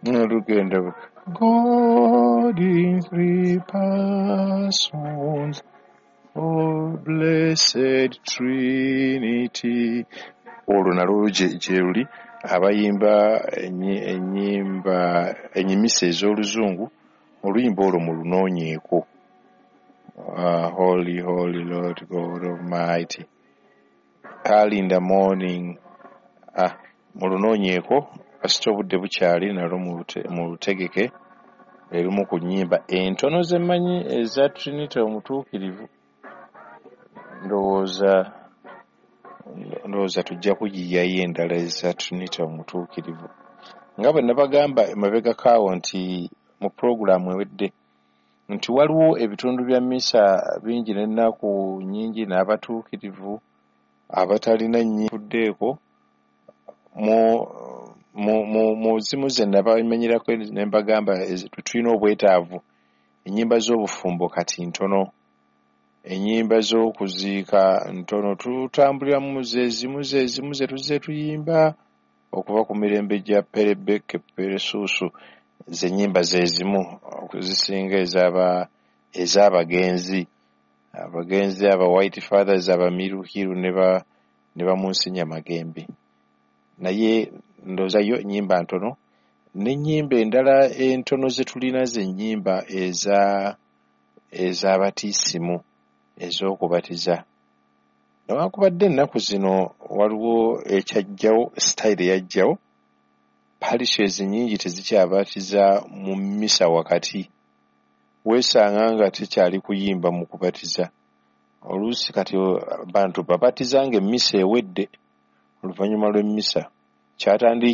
Lugenda God in three persons, oh blessed Trinity. Olwo nalwo gye luli abayimba ennyimba enyimisa ez'oluzungu, oluyimba olwo mulunoonyeeko. Holy, holy Lord God Almighty, early in the morning. Mulunoonyeeko kasita obudde bukyali, nalwo mulutegeke. Erumu ku nnyimba entono ze mmanyi eza Trinity omutuukirivu. Ndowooza tujja kuyiiyayo endala eza Trinity omutuukirivu. Nga bwe nabagamba emabegako awo nti mu pulogulaamu ewedde nti waliwo ebitundu bya mmisa bingi n'ennaku nnyingi n'abatuukirivu abatalina nnyifuddeeko mu zimu ze nabamenyerako ne mbagamba tulina obwetaavu. Ennyimba z'obufumbo kati ntono, ennyimba z'okuziika ntono, tutambuliramu ze zimu ze tuzze tuyimba okuva ku mirembe gya Perebeke Peresuusu, ze nnyimba ze zimu okuzisinga ez'abagenzi abagenzi aba White Fathers, Abamiruhiru ne bamunsinya Magembe. Naye ndowooza yo ennyimba ntono, n'ennyimba endala entono ze tulina ze nnyimba ez'abatiisimu ez'okubatiza. Newankubadde ennaku zino waliwo ekyajjawo, sitayiro eyajjawo, parishes nnyingi tezikyabatiza mu mmisa wakati. Weesanga nga tekyali kuyimba mu kubatiza. Oluusi kati abantu babatiza ng'emmisa ewedde, oluvannyuma lw'emmisa. Kyatandikira